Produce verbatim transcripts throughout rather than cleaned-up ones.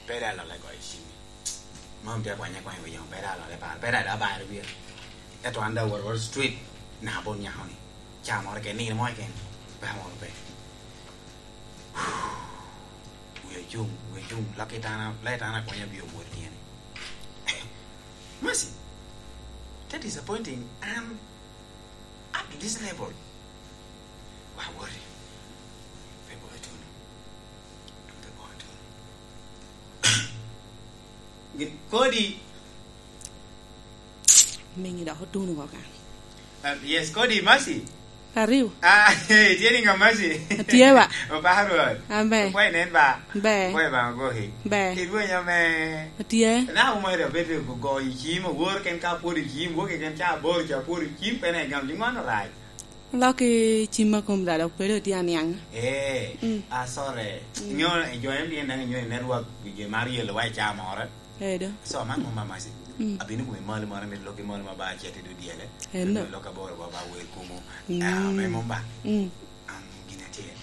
Pe da lole goyo cim. Mom tye akwanya akwanya wi yom, pe da lole paro, pe da da baro wiya. Ento an da wot wot street, na bon nyako ni. Ca moro keken, nino mo keken, pe moro pe. Wi ocung, wi ocung, laki tana, lai tana akwanya bi omwot tyene. Mercy, that disappointing. An at this level. Wa wori. Pe boyo tuno. Pe boyo tuno. Gin-, Kodi. Mingi dok otuno oko kan. Ah, yes, Kodi, Mercy. Ariw. Ah, tye ni nga, Mercy? Atye ba. Oparo Rwot. Amen. Opwoyo nen ba. Be. Opwoyo ba ogoki. Be. Irwenyo me. Atye. Na umari abed go, go i cim, owor ken ka pwod i cim, woki ken ca aboro ca pwod i cim, pe ne gam, di ŋwan orac. Lok i cim ma kom da dok pe dok tye aniaŋ. Eh, mm, ah, sorry. Mm. Nyo, i jo en tye nang nyo i network, wi je mar yelo wa i ca moro. Edo. So, man mom ba Mercy. Mm. Abino kome malo moro, amito lok i malo ma ba acet i dul dyele. Eno. Amito lok aboro ba, ba wel kumo. Mm. Ah, me mom ba. Mm. Am, gin atyel.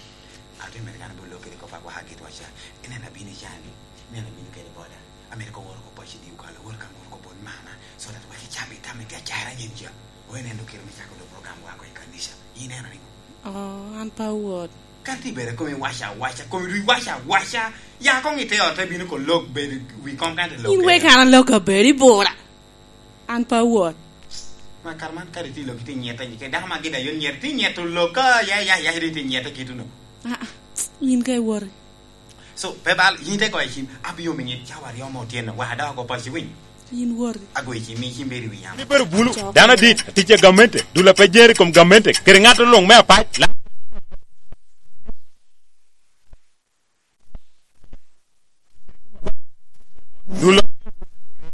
Ate mere kan bolo kede kop agwaka gitwa ca. Ineno abino i cani. Ineno abino kede boda. Amito ko woro ko paci di okalo, woro kan woro ko bon mama. So that wek icam itam ite acara nyen ca. Oye neno kiro me cako do program wa ko i kanisa. Ineno ni? Oh, an pa wot. Kan ti bere komi waca waca, komi ri waca waca. Ya kong ite ot te bino ko lok bed wi kom kan te lok. In wek an alok abed i bura. An pa wot. Ma kar man kadi ti lok iti nyete, ke dako ma gida yo nyete, ti nyeto lok ka ya, ya, ya, ti nyete kituno. Ah, ah, in ka iwori. So, pe bal, yin te goyo cim, abio miŋe cawa aryo mo otyeno, wa dok oko paci winy. Yin wori. Agoyo cim, mi cim bedo i wi yamo. Ni bedo bulu, dano adit, tic a gamente, dul a pe jer i kom gamente, kede ŋat oluŋ me apac, la-, dul